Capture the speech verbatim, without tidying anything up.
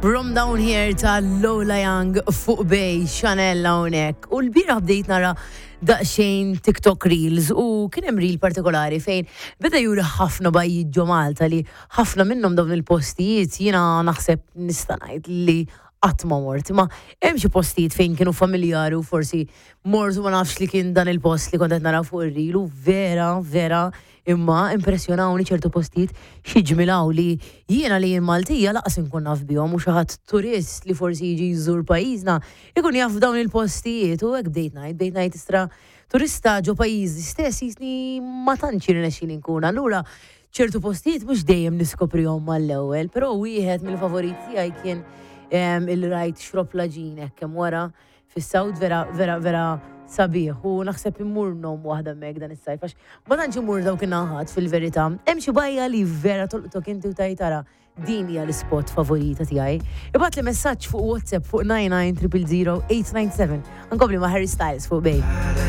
From Down Here ta' Lola Young fuq Bay, Chanel hawnhekk. U l-bieraħ bdejt nara daqsxejn TikTok Reels u kien hemm reel partikolari fejn beda juri ħafna bajjiet ġo Malta li ħafna minnhom dawn il-postijiet jiena naħseb nista' ngħid li qatt ma mort. Ma hemm xi postijiet fejn kienu familjari u forsi mort u ma nafx li kien dan il-post li kont qed nara fuq ir-reel u vera, vera imma impressjonawni ċertu postijiet xi ġmilaw li jiena li jien Maltija lanqas inkun naf bihom u xi ħadd turist li forsi jiġi jżur pajjiżna ikun jaf dawn il-postijiet u hekk bdejt ngħid, bdejt ngħid istra turista ġo pajjiżi stess jisni ma tantx jirnexxili nkun. Allura ċertu postijiet mhux dejjem niskoprihom mal-ewwel, però wieħed mill-favoriti tiegħi kien em, il-rajt Xrobb l-Għaġin hekk hemm wara fis-South, vera vera vera sabiħ u naħseb immur nom waħda hemmhekk dan is-sajf għax ma tantx immur dawk in-naħat fil-verità. Hemm xi bajja li vera tolqtok inti u tajtara din hija l-spot favorita tiegħi. Ibgħatli messaġġ fuq WhatsApp fuq nine nine triple zero eight nine seven. Nkompli ma' Harry Styles fuq Bay.